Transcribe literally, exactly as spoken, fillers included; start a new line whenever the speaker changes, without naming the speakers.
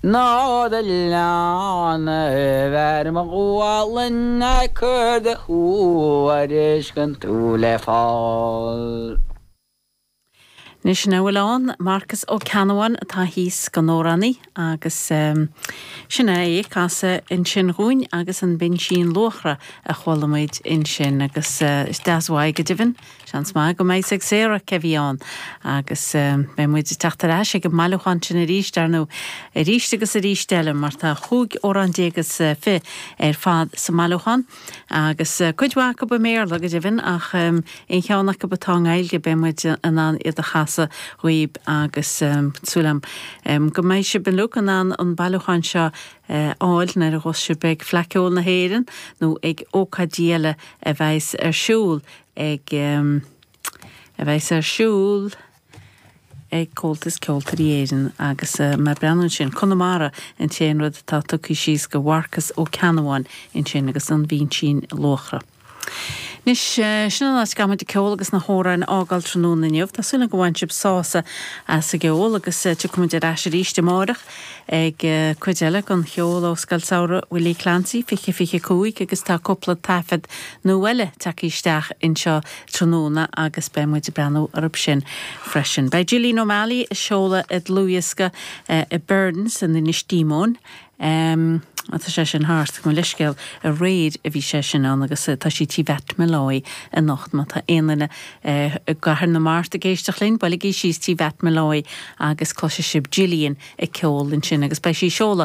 Ná do leanbh ar mo ghualainn cuir do thuairisc tú le fáil.
Anois an bhfuil ann Marcus Ó Ceannabháin atá thíos don amhránaí agus um, sin é ag casadh ansin dhúinn agus an Binsín Luachra a chuala muid ansin agus uh, is deas uaidh go deimhin Seans maith go mbeidh ag Sarah cé bhí ann agus um, beidh muid ag teacht ar ais ag an mbailiúchán sin arís ar nó arís agus arís eile mar tá chúig amhrán déag agus uh, fiche ar fad sa mbailiúchán agus uh, cuid mhaith acu i mBéarla go deimhin ach um, aon cheann acu atá i nGaeilge beidh muid in ann iad a chasadh dhaoibh agus um, súil agam um, go mbeidh sibh uilig in ann an bailiúchán seo uh, fháil nuair a bheas sibh ag Fleadh Cheoil na hÉireann nó ag ócáidí eile a bheas ar siúl ag um, a bheas ar siúl ag Comhaltas Ceoltóirí Éireann agus uh, mar breanún sin Conamara an t-aon rud atá tugtha síos go Mharcas Ó Ceannabháin ansin agus an Bhinsín Luachra. Anois sin an áit go ceol agus na hamhráin a fhágáil tráthnóna inniu, Tá súil go bhain sibh sásamh as an gceol agus tiocfaimid ar ais arís amárach ag cuid eile den cheol ó Scoil Samhraidh Willie Clancy fiche fiche cúig agus tá cúpla taifead nua eile tagtha isteach anseo tráthnóna agus beidh muid ag breathnú orthu sin freisin. Beidh Gillian O'Malley ag seoladh a dlúthdhiosca i Burns in Inis Díomóin. Um, tá sé sin thart go leiscéal aréir a bhí sé sin ann agus tá sí Tí Mhatt Molloy anocht má tá aon duine i gCathair na Mart ag éisteacht linn, buailigí síos Tí Mhatt Molloy agus cloisfidh sibh Gillian ag ceol ansin agus beidh sí seoladh